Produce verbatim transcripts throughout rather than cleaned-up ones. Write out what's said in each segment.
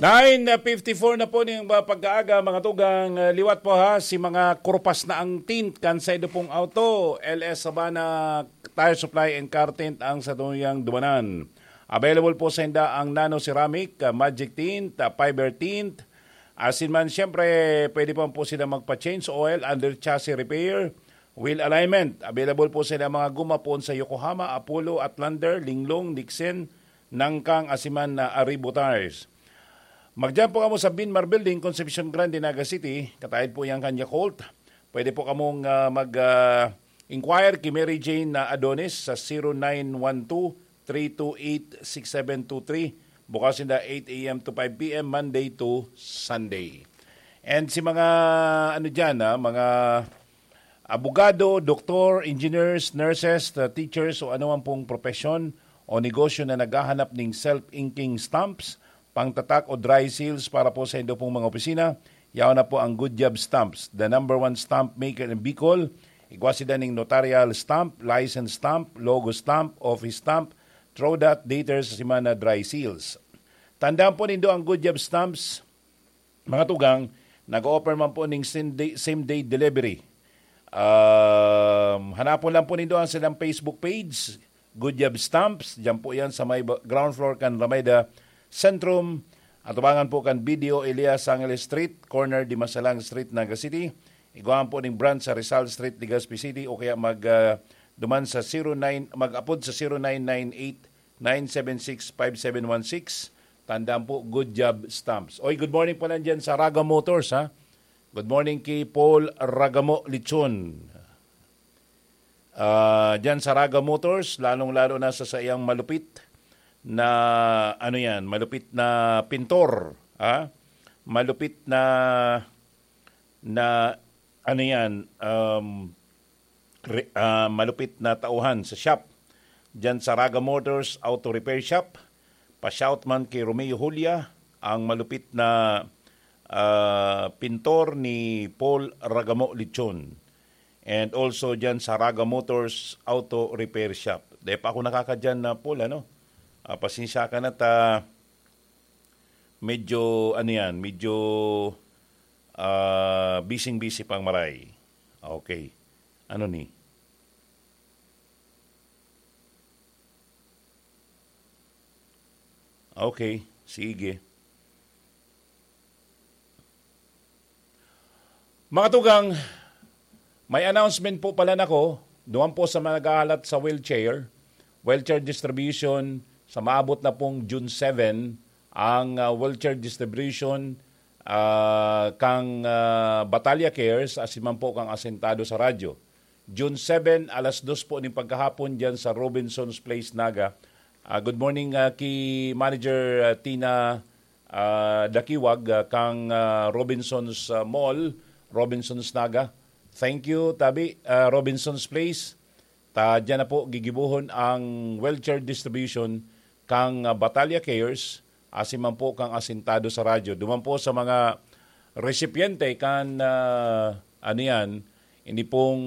Nine fifty-four na po niyang ba pagkaaga, mga tugang, ah, liwat po ha, si mga kurpas na ang tint kan saindo pong auto, L S Sabana Tire Supply and Car Tint ang satuyang dumanan. Available po sa inda ang nano ceramic, ah, magic tint, ah, fiber tint, asin man siyempre pwede po po sila magpa-change oil, under chassis repair, wheel alignment. Available po sila mga guma poon sa Yokohama, Apollo, Outlander, Linglong, Dixon, Nangkang, asin man na Arribo Tires. Magdiyan po kamo sa Binmar Building, Concepcion Grande, Naga City. Kataid po yan kan Yakult. Pwede po kamong, ah, mag, ah, inquire kay Mary Jane na Adonis sa zero nine one two, three two eight, six seven two three. Bukas sinda eight a m to five p m, Monday to Sunday. And si mga, ano dyan, ah, mga abogado, doktor, engineers, nurses, ah, teachers, o anuman pong propesyon o negosyo na naghahanap ning self-inking stamps, pangtatak o dry seals para po sa indo pong mga opisina, yaon na po ang Good Job Stamps, the number one stamp maker in Bicol. Igwa sila ning notarial stamp, license stamp, logo stamp, office stamp, throw dot, dater sa semana, dry seals. Tandaan po nindo ang Good Job Stamps, mga tugang, nag-o-offer man po ning same day, same day delivery. Um, hanapon lang po nindo ang silang Facebook page, Good Job Stamps. Diyan po yan sa may ba-, ground floor kan Rameda Centrum. Atubangan po kan B D O Elias Angeles Street, corner Dimasalang Street, Naga City. Igwaan po ning branch sa Rizal Street, Legazpi City, o kaya mag, ah, duman sa zero nine, mag-apod sa zero nine nine eight, nine seven six, five seven one six. Tandaan po, Good Job Stamps. Oy, good morning pala dyan sa Raga Motors, ha? Good morning kay Paul Ragamo Lichon. Ah, dyan sa Raga Motors, lalong-lalo na sa saiyang malupit na, ano yan, malupit na pintor, ha? Malupit na, na, ano yan, um, re-, ah, malupit na tauhan sa shop. Diyan sa Raga Motors Auto Repair Shop, pa-shout man kay Romeo Julia, ang malupit na, ah, pintor ni Paul Ragamo Lichon. And also diyan sa Raga Motors Auto Repair Shop. Di pa ako nakakadyan na, Paul, ano? Ah, pasensya ka na ta, medyo, ano yan, medyo, ah, busy-busy pang maray. Okay. Ano ni? Okay, sige. Mga tugang, may announcement po pala nako, duman po sa mga naghahalat sa wheelchair, wheelchair distribution, sa maabot na pong June seven, ang, ah, wheelchair distribution, ah, kang, ah, Batalya Cares, asin man po kang Asentado sa Radyo. June seven, alas dos po ning pagkahapon diyan sa Robinson's Place, Naga. Ah, good morning, ah, ki Manager, ah, Tina, ah, Dakiwag, ah, kang, ah, Robinson's, ah, Mall, Robinson's Naga. Thank you, tabi, ah, Robinson's Place. Ta diyan na po gigibohon ang wheelchair distribution kang, ah, Batalya Cares, asin man po kang Asentado sa Radyo. Duman po sa mga resipyente kan, ah, ano yan, ini pong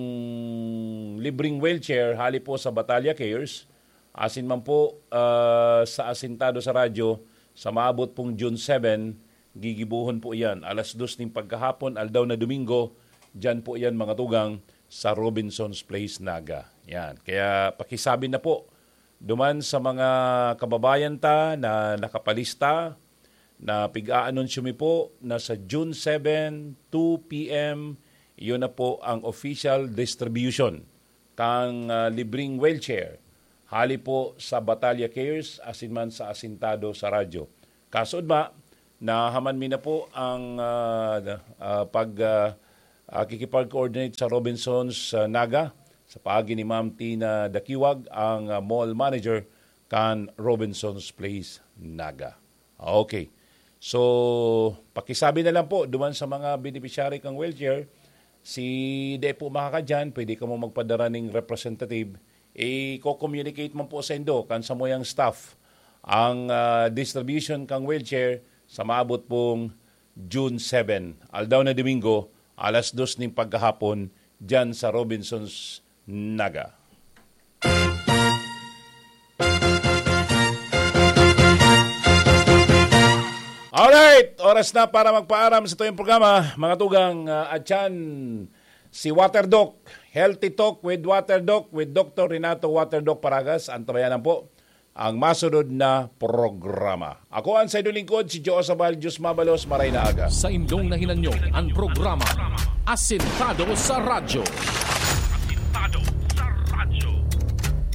libreng wheelchair hali po sa Batalya Cares, asin man po, ah, sa Asentado sa Radyo, sa maabot pong June seven, gigibohon po iyan. Alas dos ning pagkahapon, aldaw na Domingo, diyan po iyan, mga tugang, sa Robinson's Place, Naga. Yan. Kaya pakisabi na po duman sa mga kababayan ta na nakapalista, na pig-aanunsyo mi po na sa June seven, two p m, iyon na po ang official distribution kang, ah, libreng wheelchair hali po sa Batalya Cares asin man sa Asintado sa Radyo. Kaso, ma, nahaman mi na po ang, ah, ah, pag, ah, ah, kikipag-coordinate sa Robinson's, ah, Naga, sa paagi ni Ma'am Tina Dakiwag, ang, ah, mall manager kan Robinson's Place, Naga. Okay. So, pakisabi na lang po duman sa mga beneficiary kang wheelchair, si di po makakadyan, pwede kamo magpadara ning representative. I-communicate man po sa indo kan samuyang staff ang, ah, distribution kang wheelchair sa maabot pong June seven, aldaw na Domingo, alas dos ning pagkahapon, diyan sa Robinson's Naga. Alright! Alright, oras na para magpaaram sa tuyong programa, mga tugang, ah, atyan, si Water Doc, Healthy Talk with Water Doc, with Doctor Renato Water Doc Paragas. Antabayanan po ang masunod na programa. Ako ang saindong lingkod, si Joe Sabal, Diyos mabalos, maray na aga. Sa indong nahinanyo ang programa Asentado sa Radyo.